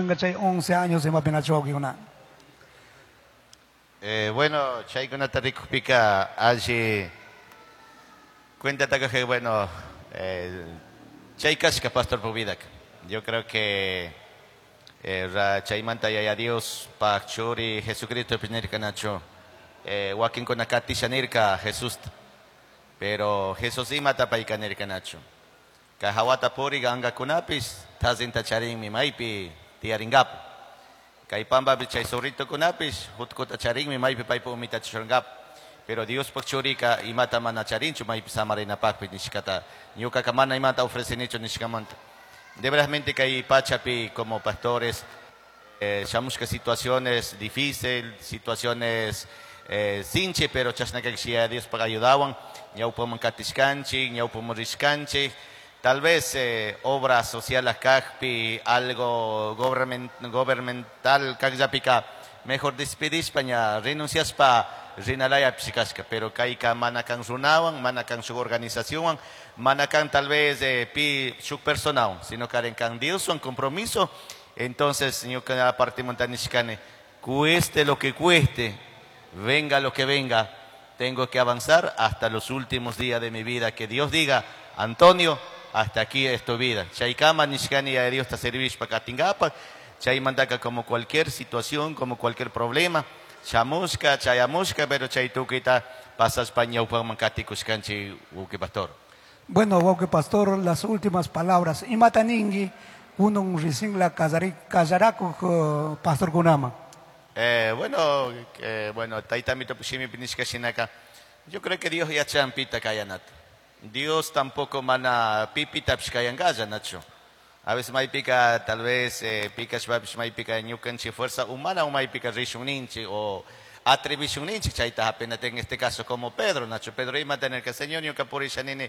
Tukunga chay 11 años imapi nachu wawkikuna. Bueno, chaykunata rikukpika alli cuentataka bueno, chay kashka pastor vidaka. Yo creo que chaymanta Yaya Dios pak churi Jesucristo nirka nachu, wakinkuna katisha nirka Jesusta, pero Jesús imata payka nirka nachu? Kay hawata purik angakunapish tazinta charinmi maypi tiyarinkapu. Kay pampapi chay zorritokunapish jutkuta charinmi maypi paypa umita churankapu. Pero Diospak churika imata mana charinchu maypi samarinapakpi nishkata. Ñukaka mana imata ofrecenichu nishkamanta. De verasmente kay pachapi como pastores, shamushka situaciones difícil, situaciones sinchi, pero chashna kakshi Diospak ayudawan, ñawpaman katishkanchik, ñawpaman rishkanchik. Tal vez obras sociales kakpi, algo gubernamental kakllapika, mejor despedishpa ña renunciaspa rinalaya pishikashka, pero kayka mana kan runawan, mana kan shuk organizacionwan, mana kan tal vez pi shuk personawan, sino karen kan Dioswan compromiso. Entonces, ñuka aparte montanishkani, cueste lo que cueste, venga lo que venga, tengo que avanzar hasta los últimos días de mi vida. Que Dios diga: "Antonio, hasta aquí es tu vida". Chaykama nishkani a Dios ta servishpa katingapa. Chaymantaka como cualquier situación, como cualquier problema, shamushka, chayamushka, pero chay tukita pasaspa ñawpaman katikushkanchik, wawki pastor. Bueno, wawki pastor, las últimas palabras. Imata ningui kunan recién la kallarakuk pastor kunama? Bueno, tayta mito shimipi nishka shinaka, yo creo que Dios yachan pita kayanata. Dios tampoco mana pipitapish kayankalla, nachu. A veces maypika, tal vez pikashpapish maypika ñukanchik fuerza humana o maypika rishun ninchik o atrevishun ninchik chayta hapinata, en este caso como Pedro, nachu. Pedro ima tener que Señor ñuka purisha nini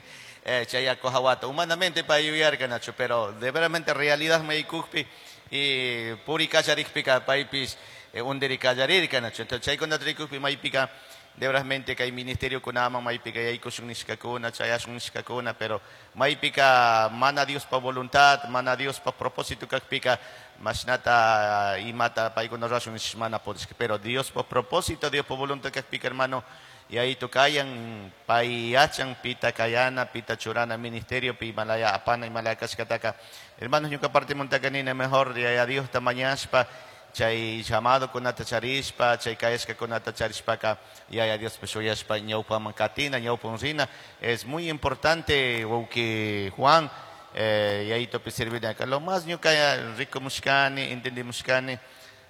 chay yaku hawata. Humanamente pa yuyarka, nachu, pero de veramente realidad maykukpi y puri kallarikpika paypish undiri kallarirka, nachu. Entonces chaykunata rikukpi maypika de veramente kay ministerio kunaman maypika yaykushun nishkakuna, chayashun nishkakuna, pero maypika mana Diospa voluntad, mana Diospa propósito kakpika, mashnata imata paykuna rashun nish mana pudishka. Pero Diospa propósito, Diospa voluntad kakpika, hermano, y ahí tocayan, pay yachan, pita kayana, pita churana ministerio, pi malaya apana y malaya kashkataka. Hermanos, ñuka parte montakanina mejor, y a Dios tamañashpa, chay llamado kunata charishpa, chay kayashka kunata charishpaka, Yaya Dios shuyashpa ñawpaman katina, ñawpan rina. Es muy importante, wawki Juan, yayitopi servina acá. Lo más ñuka rico mushkani, entendí mushkani,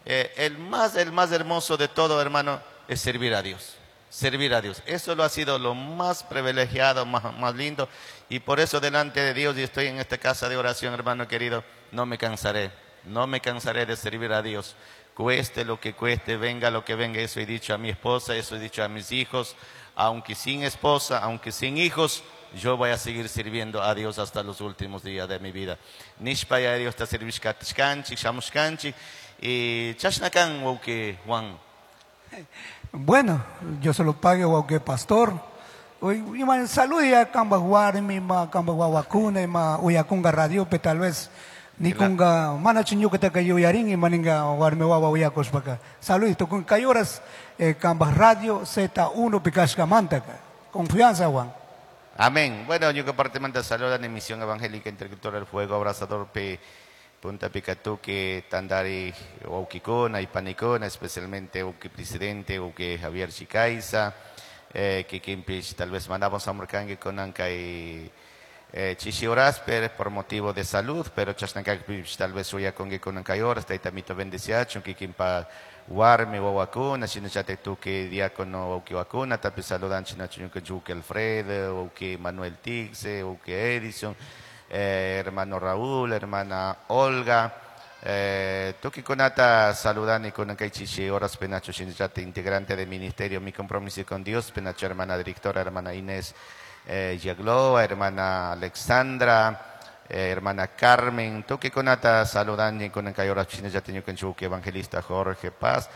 el más hermoso de todo, hermano, es servir a Dios. Servir a Dios. Eso lo ha sido lo más privilegiado, más lindo. Y por eso delante de Dios, y estoy en esta casa de oración, hermano querido, no me cansaré. No me cansaré de servir a Dios. Cueste lo que cueste, venga lo que venga. Eso he dicho a mi esposa, eso he dicho a mis hijos. Aunque sin esposa, aunque sin hijos, yo voy a seguir sirviendo a Dios hasta los últimos días de mi vida. Nishpa ya Dios ta servishkatishkanchik, shamushkanchik. Y chashnakan, wawki Juan. Bueno, Dios se lo pague, wawki pastor. Hoy, ima saludia kamba warmi, ma kamba wawakuna, ima uyakunga radio, pe tal vez nikunga mana ñukataka yuyarin ima ninga warmi wawa uyakushpaka. Saludito con kay horas kamba radio Z1 pikashkamantaka. Confianza, Juan. Amén. Bueno, ñuka partimanta saludan en Misión Evangélica Intercultural Fuego Abrasador P. Punta Picatuque, Tandari, wawkikuna y panikuna, especialmente wawki presidente, wawki Javier Chicaiza, kikinpish tal vez mandamos a Murkangi con y chishi horas pero por motivo de salud, pero chashnakakpish tal vez uyakungi kunan kay horas, tayta bendeciachun, kikinpa warmi wawakuna, shinallata tuki diácono wawki wakuna, tapi saludan chinachu ñuka wawki Alfredo, wawki Manuel Tixe, wawki Edison, hermano Raúl, hermana Olga, tuki kunata saludani kunan kay chishi horas penacho shinallata integrante del ministerio Mi Compromiso con Dios, penacho hermana directora, hermana Inés Yagloa, hermana Alexandra, Hermana Carmen, tukikunata saludan kunan kay horas shinallata ñukanchik evangelista Jorge Paz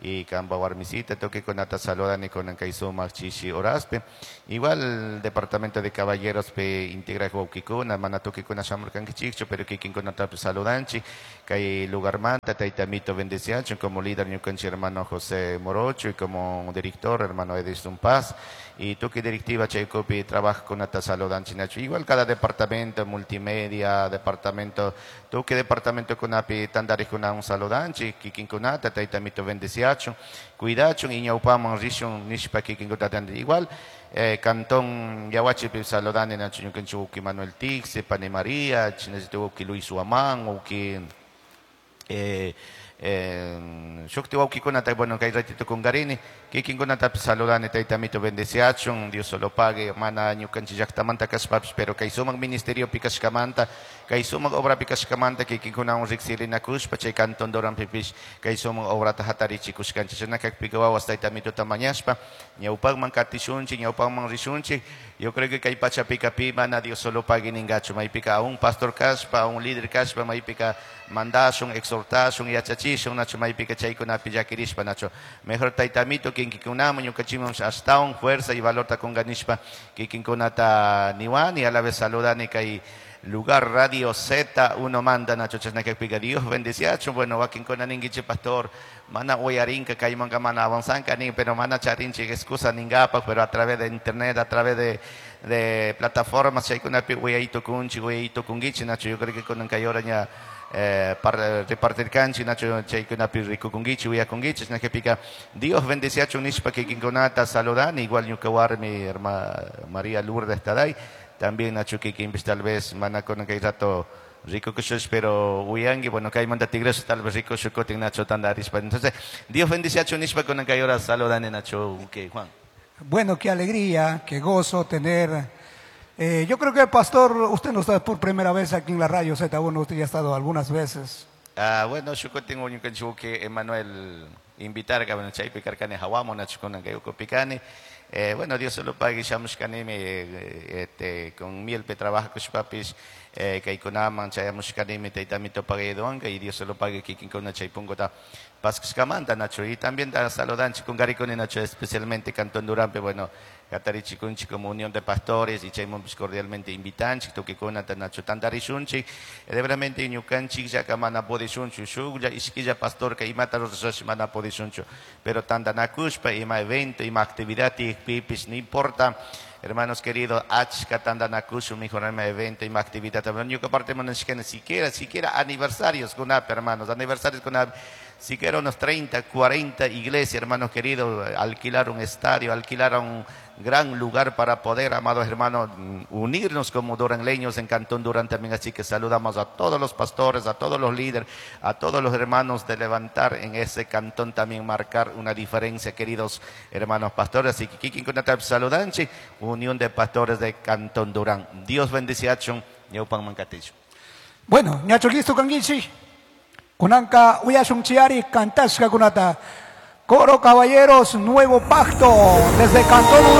y kamba warmisita tukikunata saludan kunan kay sumak chishi horaspi. Igual departamento de caballeros pe integra wawkikuna, mana tukikuna shamurkankichikchu, pero kikinkunatapish saludanchik. Kay lugarmanta tayta Mito bendeciachun como líder ñukanchik hermano José Morocho y como director hermano Edison Paz y tukuy directiva chaykupi trabajkunata saludanchik nachu. Igual cada departamento, multimedia, departamento, tukuy departamento kunapi tantarikunawan saludanchik, kikinkunata tayta Mito bendeciachun, cuidachun y ñawpaman rishun nishpa kikinkunata. Igual Cantón Yahuachipi saludani nachu ñukanchik uki Manuel Tixe, Pane María, chinallata uki Luis Huamán, uki shukti wawkikunata, bueno, kay ratito kungarini, kikinkunatapish saludani tayta Mito bendeciachun, Dios solo pague, mana ñukanchik llaktamanta kashpapish, pero kay sumak ministeriopi kashkamanta, kay sumak obrapi kashkamanta, kikinkunawan riksirinakushpa, chay Cantón Duranpipish, kay sumak obrata hatarichikushkanchik, chashna kakpika wawas tayta Mitota mañashpa, ñawpakman katishunchik, ñawpakman rishunchik. Yo creo que kay pachapika pi mana Dios solo pague ningachu, maypika a un pastor kashpa, a un líder kashpa, maypika mandashun, exhortashun, yachachishun, nacho maypika chaykunapi llakirishpa, nacho mejor tayta Mito kinkikunaman ñukanchikman ashtawan fuerza y valorta kunganishpa kikinkunata niwani, a la vez saludani kay lugar Radio Z uno manda nacho chashna kakpika Dios bendeciachun. Bueno, wakinkuna ninkichik pastor mana uyarinka kaymanka mana avanzanka nin, pero mana charinchik excusa ningapak, pero a través de internet, a través de plataformas chaykunapi uyaytukunchik, uyaytukunkichik nacho. Yo creo que kunan kay hora ña repartirkanchik nacho chaykunapi rikukunkichik, uyakunkichik, chashna kakpika Dios bendeciachun nishpa kikinkunata saludani. Igual ñuka warmi herma María Lourdes Taday también nacho kikinpish tal vez mana kunan kay rato rico kushush, pero uyangi, bueno, kaymanta tigreso tal vez rico shukutin nacho tandarishpa. Entonces, Dios bendeciachun nishpa kunan kay hora saludani nacho, okay, Juan. Bueno, qué alegría, qué gozo tener. Yo creo que, pastor, usted no está por primera vez aquí en la radio Z1, usted ya ha estado algunas veces. Ah, bueno, shukutin ñukanchik que Emanuel invitar, que bueno, chaypi karkani hawamu nacho kunan kay ukupikani. Bueno, Dios se lo pague, shamushkanimi, este, con miel pe trabaja kushpapis, kaykunaman chayamushkanimi, tayta Mito pague y Dios se lo pague kikinkuna chaypunkota paskushkamanta nacho. Y también da saludanchik kungarikuni nacho, especialmente Cantón Duranpe, bueno, hatarichikunchik como unión de pastores y chaymunpis cordialmente invitanchik, tukikunata nacho tantarishunchik, de veramente ñukanchik llaka mana pudishunchu, shuklla ishkilla pastor ka imata rurashash mana pudishunchu, pero tantanakushpa ima evento, ima actividad tiyakpipis, no importa, hermanos queridos, achka tantanakushun, mejor evento, ima actividad, pero ñuka parte mana siquiera aniversarios kunapi, hermanos, aniversarios kunapi, siquiera unos 30, 40 iglesias, hermanos queridos, alquilar un estadio, alquilar un gran lugar para poder, amados hermanos, unirnos como duranleños en Cantón Durán también. Así que saludamos a todos los pastores, a todos los líderes, a todos los hermanos de levantar en ese cantón también, marcar una diferencia, queridos hermanos pastores. Así que kikinkunata saludanchi, Unión de Pastores de Cantón Durán. Dios bendice a Chun, Ñaupan Mancaticho. Bueno, ñacho listo kanguichi. Kunanka uyashun chiari kantashka kunata. Coro Caballeros, Nuevo Pacto, desde Cantón Durán.